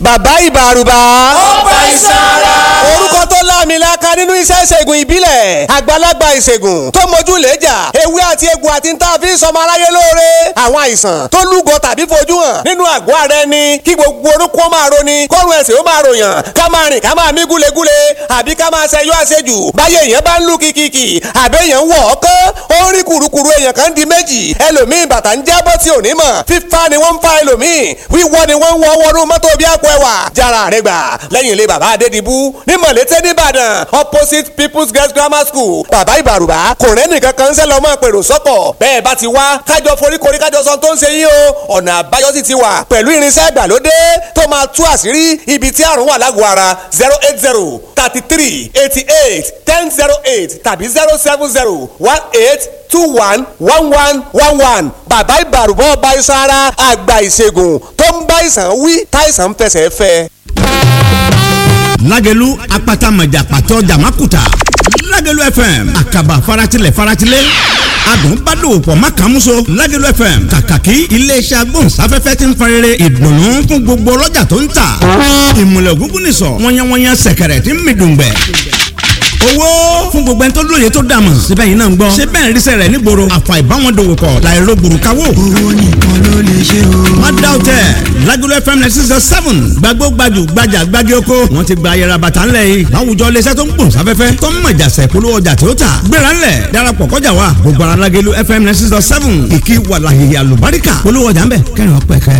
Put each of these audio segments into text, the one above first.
Bàbá Ìbàrùbà. Ọba ìsara. Orúkọ tó láàmìlaka nínú iṣẹ́ ìṣègùn ìbílẹ̀, àgbàlagbà ìṣègùn tó mojú lẹ́jà, ewé àti egbò àti ń tà fi ń sọmọ aráyé lóore. Àwọn àìsàn tó lúgọ tàbí fojú hàn nínú àgọ́ ara ẹni, kí gbogbo orúkọ máa roni, kọ́run ẹ̀sìn ó máa ròyàn, ká máa rìn ká máa mí gúlegúle, àbí ká máa ṣẹyọ àṣejù báyé èèyàn bá ń lù kìkìkì, àbí èèyàn ń wọ̀ ọ́ kán ó ń rí kùrukùru, èèyàn kan di méjì, ẹlòmíì bàtà ń jábọ́ tí ò ní mọ̀, fífa ni wọ́n ń fa, ẹlòmíì wíwọ́ ni wọ́n ń wọ́ wọnú mọ́tò bí àpò ẹwà. Jára rẹ gbà lẹ́yìn ilé bàbá Adédìbú ní Mọ̀lété nìbàdàn, opposite People's Girls Grammar School. Bàbá Ìbàrùbá kò rẹ́ nìkan kan ń sẹ́ lọ́mọ pèrò sọ́kọ̀. Bẹ́ẹ̀ bá ti wá, kájọ foríkorí, kájọ sọ tó ń ṣe yín o. Ọ̀nà àbáyọ sì ti wà pẹ̀lú irinṣẹ́ ìgbàlódé tó máa tú àṣírí ibi tí àrùn wà lágọ̀ọ́ ara. 08033881008 tàbí 07018211111. Bàbá Ìbàrùbá, ọba iṣan ara, àgbà ìṣègùn tó ń bá ìsàn wí táìsàn ń fẹsẹ̀ fẹ́. Lágẹ̀lú apata mọ̀jà pàtó jàmákùtà, Lágẹ̀lú FM àkàbà faratilẹ̀ faratilẹ̀, adùn bá dòwò pọ̀ má kàn múso. Lágẹ̀lú FM kàkàkí iléeṣẹ́ agbóhùnsáfẹ́fẹ́ ti ń farere ìdùnnú fún gbogbo ọlọ́jà tó ń tà. Ìmùlẹ̀ ògúngún nìsọ̀ wọ́nyẹ́wọ́nyẹ́, sẹ̀kẹ̀rẹ̀ tí ń mi dùngbẹ̀ owó fún gbogbo ẹni tó lóye tó dàmọ̀ síbẹ̀. Yìí náà ń gbọ́ ṣé bẹ́ẹ̀ ríṣẹ́ rẹ̀ nígboro, àfà ìbáwọn dòwò pọ̀ láìro gbùrùkáwò. Owó nìkan ló lè ṣe o. Má dá o tẹ̀, Lágolo FM 96.7, gbàgbó gbajù gbajà gbági oko, wọ́n ti gba ayẹra bàtà ńlẹ̀ yìí láwùjọ. Iléeṣẹ́ tó ń gbòǹ sáfẹ́fẹ́ tó ń mọ̀jà sẹ̀ polówó ọjà tí ó tà, gbéra ńlẹ̀ darapọ̀ kọjá wa gbogbo ara. Lágolo FM 96.7, kìkì wàlàhìhì àlùbáríkà, polówó ọjà ńbẹ kẹrin ọpẹ kẹ.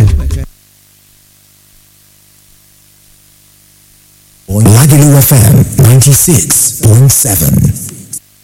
Lagelu FM 96.7.